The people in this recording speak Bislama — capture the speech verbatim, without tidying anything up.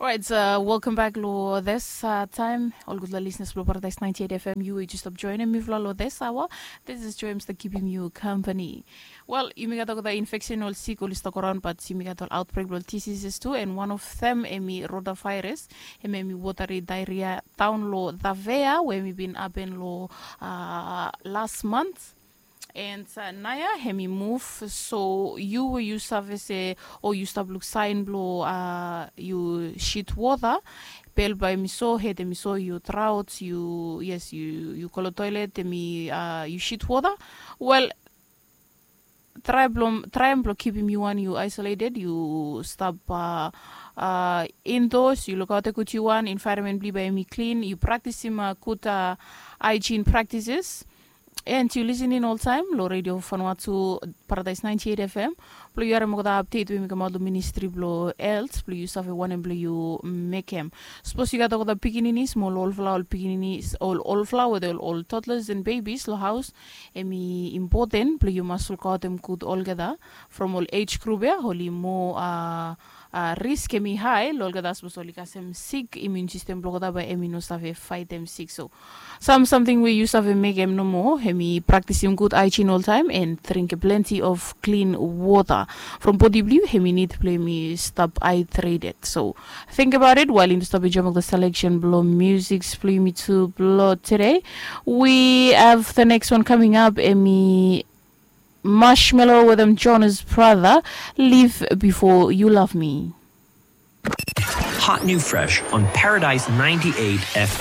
Alright, uh, welcome back lo this uh, time. Ol gutpela listeners blo Paradise ninety-eight F M, yu we just stop joining mifala lo this hour. This is Joy, I'm still keeping you company. Well, yumi gat olgeta infection ol sik oli stap go raun, but yumi gat ol outbreak blo ol diseases tu, and one of them hemi rotavirus, hemi hemi watery diarrhea down lo Davea, we hemi bin happen lo uh, last month. And uh, naoia hemi move, so yu we yu save se o yu stap luk sign blo uh, yu shit water, bel bai hemi so, hed hemi so, yu drought, yu yes, yu yu go lo toilet, hemi uh, yu shit water. Well, try blo try blo kipim yu wan yu isolated, yu stap uh, uh, indoors, yu lukaotem gud yu wan, environment blo yu bai hemi clean, yu praktisim uh, gud uh, hygiene practices. And yu listening oltaem lo Radio Vanuatu, Paradise ninety-eight F M, blo yu harim olgeta update we hemi kamaot lo Ministry blo Health, blo yu save wanem blo yu mekem. Sapos yu gat olgeta pikinini, smol olfala ol pikinini, ol olfala wetem ol toddlers and babies lo haos, hemi important blo yu mas lukaotem gud olgeta. From ol age group ia oli moa uh, uh, risk hemi hae lo olgeta, sapos oli kasem sik, immune system blo olgeta bae hemi no save faetem sik. So sam samting we yu save mekem nomo, hemi praktisim gud hygiene oltaem and drinkem plenty of clean water. From bodi blo yu hemi nid blo hemi stap hydrated. So think about it while yumi stap enjoem olgeta selection blo music blo yumi tu blo today. We have the next one coming up, hemi Marshmello wetem Jonas Brother, Live Before You Love Me. Hot new fresh on Paradise ninety-eight F M.